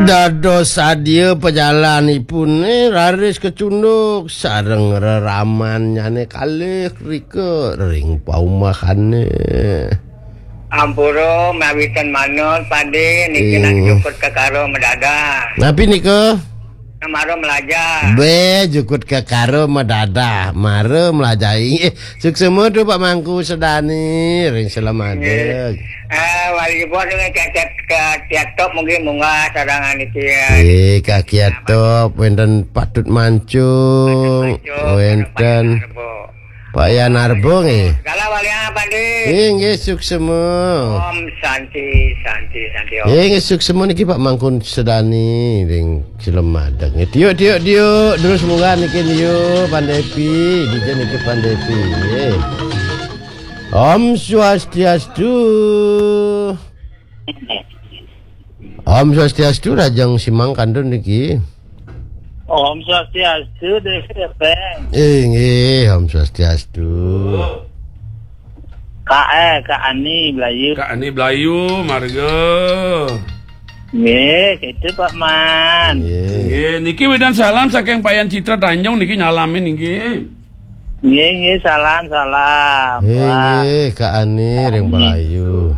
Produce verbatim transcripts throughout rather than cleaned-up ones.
Dados sadia pajalanipune raris kacunduk sareng reramannyane kalih rika ring paumahane. Ampura mawitan manut, Pade, niki nak Ing. Jukut kekara medadah. Napi nika? Mara melajah. Be, jukut kekara medadah, mara melajahi. Eh, suksema tu Pak Mangku Sedani, ring Selamadeg. Eh, wali bos dengan tiap-tiap ke tiap top mungkin munggah sadangan iki ya. Eh, kaki atop, wenten Patut Mancung, Patut Mancung, wenten Patut Mancung. Pak Yan Arbo nggih. Segala walian, Pade. Inggih, suksema. Om Santi, Santi, Santi, Om. Inggih, suksema niki Pak Mangkun Sedani ring Cilem Madeg. Tiuk, tiuk, tiuk. Terus munggah niki niu Pandepi, dija niki Pandepi. Nggih. Om Swastiastu. Om Swastiastu, Rajang Simang Kandun niki. Om Swastiastu, Dek Peng. Inggih, Om Swastiastu. Kak, eh, Kak Ani Belayu. Kak Ani Belayu, marga. Nggih, itu Pak Man. Nggih. Nggih, niki wedan salam saking Payan Citra Tanjung niki nyalamin niki. Nggih, nggih, salam, salam. Nggih, Pak. Nggih, Kak Ani ring Belayu.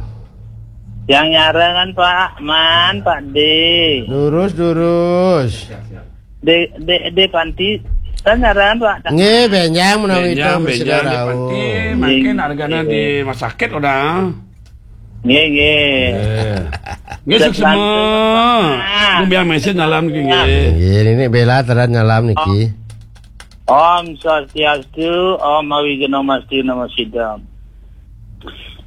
Yang nyarangan Pak Man, Pak D. Durus, durus. De, de, de Panti, kan nyarangan Pak. Nggih, benjang menawi Benjang, itu benjang, de rauh. Panti, mangkin argana di rumah sakit udah. Nggih, nggih. Nggih. Nggih, suksema. Ngumbiang message nyalam niki, nggih. Nggih, niki Bella terang nyalam niki. Om Swastiastu, Om Awighnam Astu Namo Siddham.